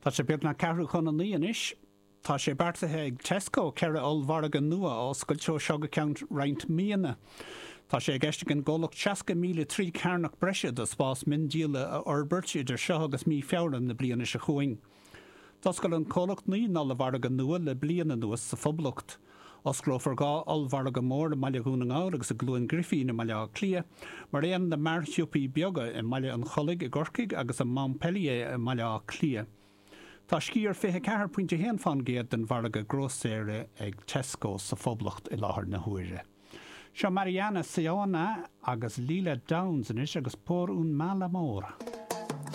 Tá sé beagnach ceathrú chun a naoi anois. Tá sé beartaithe ag Tesco 4 ollmhargadh nua a oscailt ó seo go ceann roinnt míonna. Tá sé i gceist ag an gcomhlacht 60,000 troigh cearnach breise de spás miondíola a fhorbairt idir seo agus mí Feabhra na bliana seo chugainn. D'oscail an comhlacht 9 n-ollmhargadh nua le bliain anuas sa Phoblacht. Osclófar 2 ollmhargadh mór i mBaile Dhún na nGall agus i gCluain Ghrifín i mBaile Átha Cliath, mar aon le mearshiopaí beaga i mBaile an Chollaigh i gCorcaigh agus i Montpellier i mBaile Átha Cliath. Tá sciar 24.1% den mhargadh grósaera ag Tesco sa Phoblacht i láthair na huaire. Seo Mariana Saona agus Lila Downs anois agus Por un mal amor.